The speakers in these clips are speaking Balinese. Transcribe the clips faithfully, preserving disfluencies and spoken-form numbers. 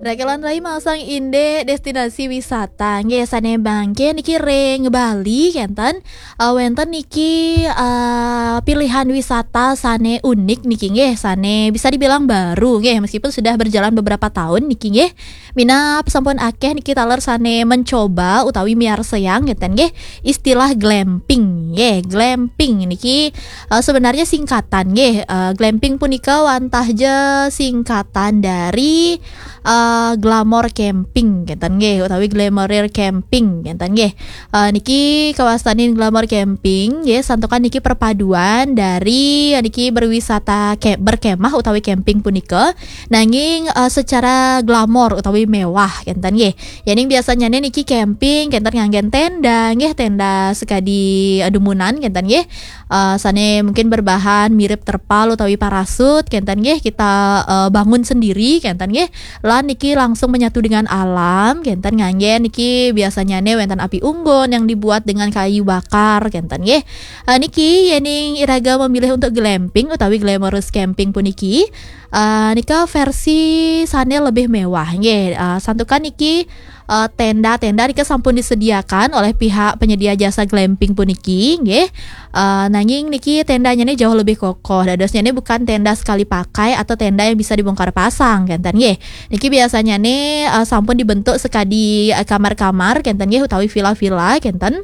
Rakelan rai, masang indik destinasi wisata nggih sane mangke niki ring Bali kenten. Eh, wenten niki, eh, pilihan wisata sane unik niki nggih, sane bisa dibilang baru nggih, meskipun sudah berjalan beberapa tahun niki nggih. Minab sampun akeh niki taler sane mencoba utawi miarsayang kenten nggih istilah glamping nggih. Glamping niki, eh, sebenarnya singkatan nggih. Eh, glamping punika wantah ja singkatan dari, eh, glamour camping kenten nggih, utawi glamour camping kenten nggih. Eh, niki kawastanin glamour camping nggih, santukan niki perpaduan dari niki berwisata ke-, berkemah utawi camping punika, nanging, eh, secara glamor utawi mewah kenten nggih. Yening biasanyane niki camping kenten nganggen tenda nggih, tenda sekadi, eh, dumunan kenten nggih. Eh, sane mungkin berbahan mirip terpal utawi parasut kenten nggih, kita, eh, bangun sendiri kenten nggih. Lan niki langsung menyatu dengan alam kenten, nganggen niki biasanyane wenten api unggun yang dibuat dengan kayu bakar kenten nggih. Eh, niki yening iraga memilih untuk glamping utawi glamorous camping puniki, eh, nika versi sane lebih mewah nggih. Eh, santukan niki, eh, tenda-tenda nika sampun disediakan oleh pihak penyedia jasa glamping puniki nggih. Eh, nanging niki tendanya nih jauh lebih kokoh. Dadosnya nih bukan tenda sekali pakai atau tenda yang bisa dibongkar pasang kenten nggih. Niki biasanya nih, eh, sampun dibentuk sekadi, eh, kamar-kamar kenten nggih, utawi villa-villa kenten.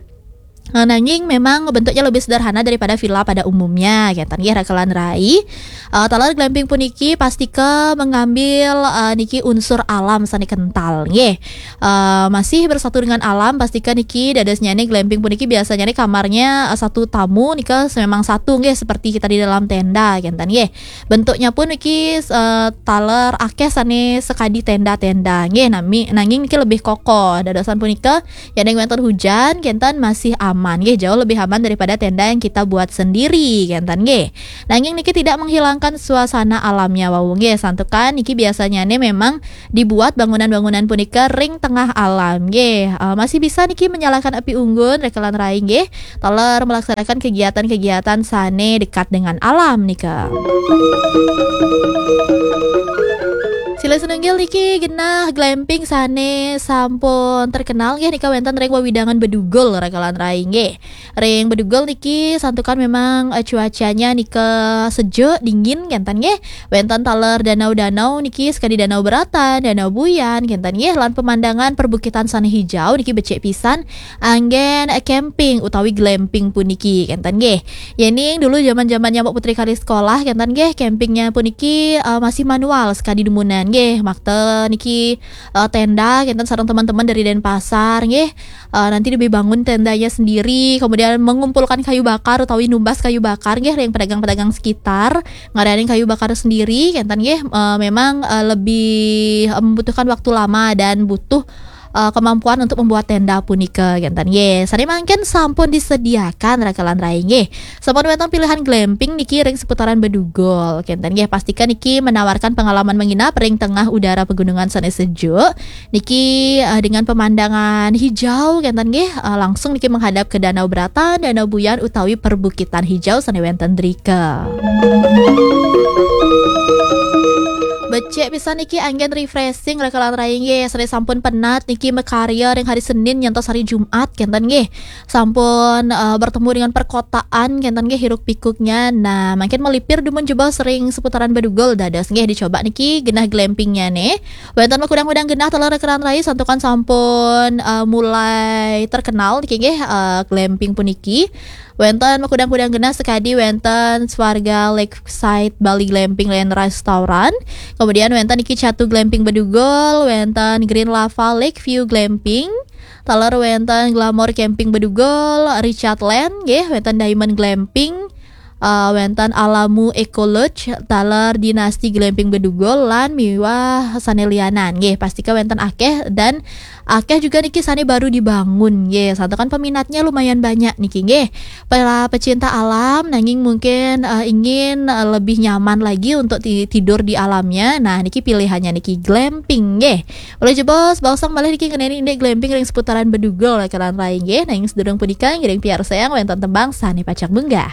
Eh, nanging memang bentuknya lebih sederhana daripada villa pada umumnya kenten nggih, rakelan rai. Eh, taler glamping puniki pastika mengambil, eh, niki unsur alam sane kental nggih. Eh, masih bersatu dengan alam, pastika niki dadosnya nih glamping puniki biasanya nih kamarnya, eh, satu tamu nika memang satu nggih, seperti kita di dalam tenda kenten nggih. Bentuknya pun niki, eh, taler akeh sane sekadi tenda-tenda nggih, nami, nanging niki lebih kokoh. Dadosan punika, yening wenten hujan kenten masih aman nggih, jauh lebih aman daripada tenda yang kita buat sendiri kenten nggih. Nanging niki tidak menghilangkan suasana alamnya wau nggih, santukan niki biasanya nih memang dibuat bangunan-bangunan punika ring tengah alam nggih. Eh, masih bisa niki menyalakan api unggun, rakelan rai nggih, taler melaksanakan kegiatan-kegiatan sane dekat dengan alam nika. Silih sinunggil niki genah glamping sane sampun terkenal nggih, nika wenten ring wewidangan Bedugul, rakelan rai nggih. Ring Bedugul niki santukan memang, eh, cuacanya nika sejuk, dingin kenten nggih. Wenten taler danau-danau niki sekadi Danau Beratan, Danau Buyan kenten nggih, lan pemandangan perbukitan sane hijau niki becik pisan, anggen, eh, camping utawi glamping puniki kenten nggih. Yening dulu zaman-zamannya Mbok Putri kali sekolah kenten nggih, campingnya puniki, eh, masih manual sekadi dumunan nggih. Makta niki, eh, tenda kenten sareng teman-teman dari Denpasar nggih. Eh, nanti dibangun tendanya sendiri, kemudian mengumpulkan kayu bakar utawi numbas kayu bakar nggih, ring pedagang-pedagang sekitar, ngadain kayu bakar sendiri kenten nggih, eh, memang, eh, lebih, eh, membutuhkan waktu lama dan butuh, eh, kemampuan untuk membuat tenda punika kenten nggih. Sane mangkin sampun disediakan, rakelan rai nggih. Sampun wenten pilihan glamping niki ring seputaran Bedugul kenten nggih. Pastikan niki menawarkan pengalaman menginap ring tengah udara pegunungan sane sejuk. Niki, eh, dengan pemandangan hijau kenten nggih, eh, langsung niki menghadap ke Danau Beratan, Danau Buyan utawi perbukitan hijau sane wenten drika. Becik pisan niki, anggen refreshing, rakelan rai nggih. Sane sampun penat niki makarya ring hari Senin nyantos hari Jumat kenten nggih. Sampun, eh, bertemu dengan perkotaan kenten nggih, hiruk pikuknya. Nah, mangkin melipir dumun jebos ring seputaran Bedugul, dados nggih dicoba niki genah glampingnya nih. Wenten makudang-kudang genah taler, rakelan rai, santukan sampun, eh, mulai terkenal niki nggih, eh, glamping puniki. Wenten makudang-kudang genah sekadi wenten Swarga Lakeside Bali Glamping lan Restaurant. Kemudian wenten niki Catu Glamping Bedugul, wenten Green Lava Lake View Glamping. Taler wenten Glamour Camping Bedugul, Richard Land nggih, wenten Diamond Glamping, eh, wenten Alamu Eco Lodge, taler Dinasti Glamping Bedugul, lan miwah sane lianan nggih. Pastika wenten akeh dan akeh juga niki sane baru dibangun nggih. Santukan peminatnya lumayan banyak niki nggih. Para pecinta alam nanging mungkin, eh, ingin, eh, lebih nyaman lagi untuk ti-, tidur di alamnya. Nah, niki pilihannya niki glamping nggih. Uli jebos, baosang malih niki ngeneni indik glamping ring seputaran Bedugul, rakelan rai nggih. Nanging sedurung punika ngiring piarsayang wenten tembang sane pacang munggah.